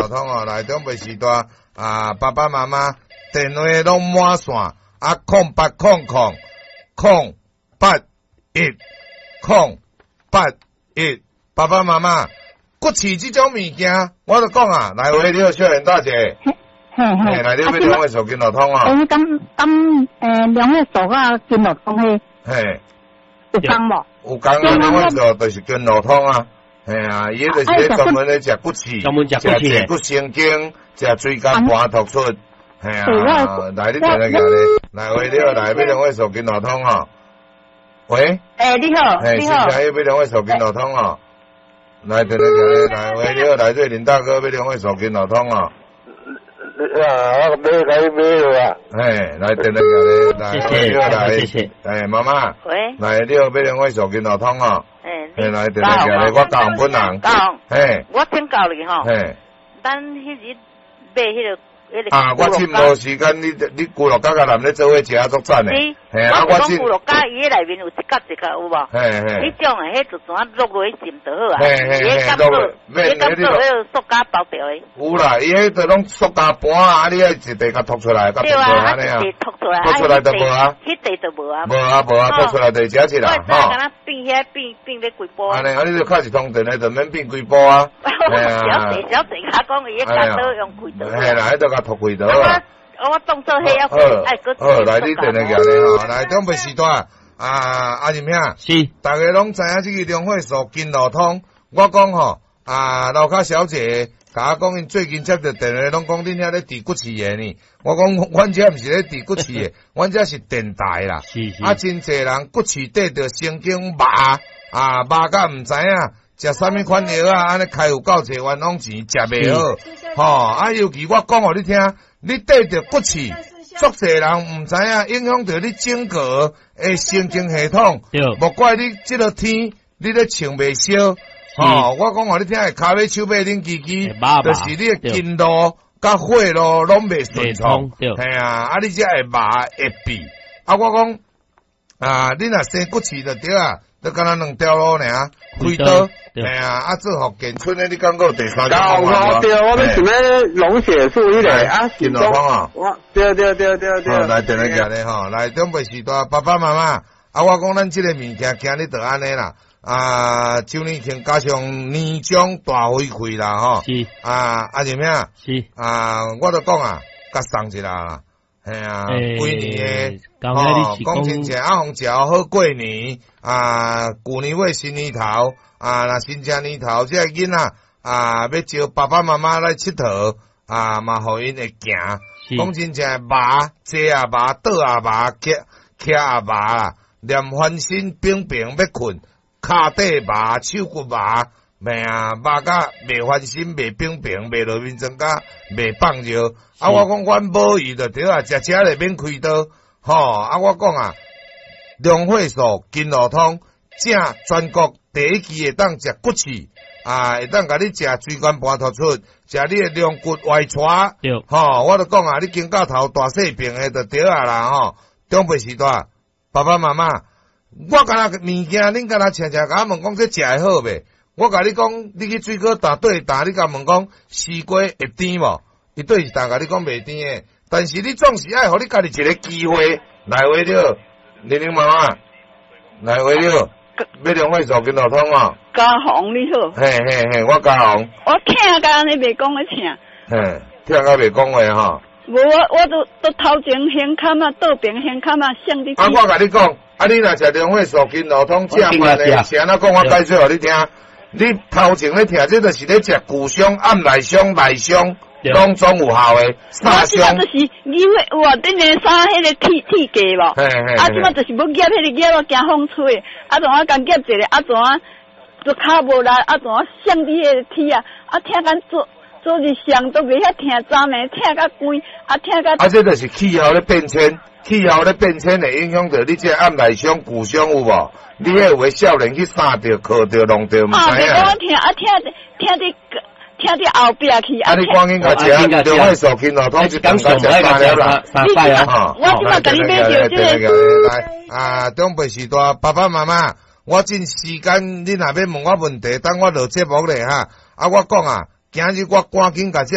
路通哦，來長輩時代啊，爸爸媽媽電話攏滿線啊，0800 000 081 081，爸爸媽媽骨刺這種物件，我就講啊，來喂，你好，小燕大姐，嘿嘿，來，你欲兩位數經絡通哦，欸，敢敢兩位數佮經絡通彼，嘿，有仝無？有仝啊，兩位數就是經絡通啊。嘿啊，伊彼就是咧專門咧食骨刺，專門食骨刺，食骨神經，食椎間盤突出。嘿啊，來你電話來，來喂，你好，來欲兩位數經絡通吼。喂，欸，你好，你好，欲兩位數經絡通吼。來電話來，喂，你好，來這林大哥欲兩位數經絡通吼。啊，我買來買了啊。嘿，來電話來，謝謝，來，謝謝。欸，媽媽，喂，來，你好，欲兩位數經絡通吼。欸，來，電話來，我教本人。教，嘿，我請教你吼。嘿，咱彼日買彼个。啊！我真無時間，你你牛肉甲男咧做伙食足讚的。嘿啊！我講牛肉餃伊彼內面有一角一角有無？嘿嘿。彼種的彼就怎啊落落去浸就好啊。嘿嘿嘿，落落。彼敢做彼个塑膠包著的。有啦，伊彼就攏塑膠盤啊，你愛一塊共脫出來，共脫出來按呢啊。脫出來，脫出來就無啊。彼塊就無啊。無啊無啊，脫出來就食一啦。吼。我敢若變遐變變欲幾步。按呢，啊你就敲一通電話就免變幾步啊。小濟小濟，較講伊彼剪刀用開刀。嘿啦，彼就共脫開刀啊。我當做彼抑愛閣。好，來你電話寄來吼，來長輩時代啊，阿仁兄，是，逐家攏知影這個龍火素經絡通。我講吼，啊，樓跤小姐共我講，𪜶最近接著電話，攏講恁遐咧治骨刺的呢。我講，阮遮毋是咧治骨刺的，阮遮是電台啦。是是。啊，真濟人骨刺綴著神經麻，啊麻甲毋知影，食啥物款藥啊，按呢開有夠濟冤枉錢，食袂好。吼，啊，尤其我講予你聽，你綴著骨刺，足濟人毋知影，影響著你整個的神經系統。莫怪你這个天，你咧穿袂燒。吼，我講予你聽，跤尾手尾恁支支，就是你的經路佮血路攏袂順暢。嘿啊，啊你才會麻會痺。啊，我講啊，你若生骨刺就對啊，就敢若兩條路爾，開刀。嘿啊，啊做福建村的，你感覺有第三種方法無？對，我欲想欲龍血樹彼个啊，經絡通啊。我對對對對對。來電話寄來吼，來長輩時代爸爸媽媽，啊，我講咱這个物件今日就按呢啦。啊，周年慶加上年終大回饋啦，吼。是。啊，阿仁兄。是。啊，我就講啊，共送一下啦。嘿啊，幾年的，吼，講真正阿鳳食好過年，啊，舊年尾新年頭，啊，若新正年頭，這个囡仔啊，欲招爸爸媽媽來𨑨迌，啊，嘛予𪜶會行。講真正麻，坐也麻，倒也麻，徛徛也麻啦，連翻身平平欲睏。跤底麻，手骨麻，袂啊，麻甲袂翻身，袂平平，袂落眠床甲袂放尿。啊，我講阮保伊就對啊，食食咧免開刀，吼！啊，我講啊，龍火素經絡通，正全國第一支會當食骨刺，啊，會當共你食椎間盤突出，食你的龍骨歪斜，吼！我就講啊，你肩胛頭大細病的就對啊啦，吼！長輩時代，爸爸媽媽。我敢若物件，恁敢若常常共我問講這食會好袂？我共你講，你去水果摊對擔，你共問講西瓜會甜無？伊對一擔共你講袂甜的，但是你總是愛予你家己一个機會來話著，玲玲媽媽來話著，欲兩位做經絡通哦。嘉宏你好。嘿嘿嘿，我嘉宏。我疼甲按呢袂講咧疼。嘿，疼甲袂講話吼。無我我都都頭前胸坎啊，倒邊胸坎啊，省你。啊，我共你講。啊！你若食龍火素經絡通正慢的，是按怎講？我解說予你聽。你頭前咧疼，這就是咧食骨傷、暗內傷、內傷，攏總有效的。我這馬就是因為有啊，頂个衫彼个鐵鐵架無？啊，這馬就是欲夾彼个夾，我驚風吹。啊，怎啊共夾一个？啊，怎啊就跤無力？啊，怎啊省你彼个鐵啊？啊，疼甲做做日上都袂曉疼，昨暝疼甲規，啊，疼甲。啊，這就是氣候咧變遷。氣候咧變遷會影響著你這個暗內傷、骨傷有無？你彼有的少年去捎著、磕著、弄著，毋知影。啊，我疼啊，疼疼佇疼佇後壁去。啊，你趕緊共食，龍火素經絡通一頓共食三粒啦。三擺啊！我這馬共你買著這个。來啊，長輩時代，爸爸媽媽，我盡時間，你若欲問我問題，等我落節目咧哈。啊，我講啊，今日我趕緊共這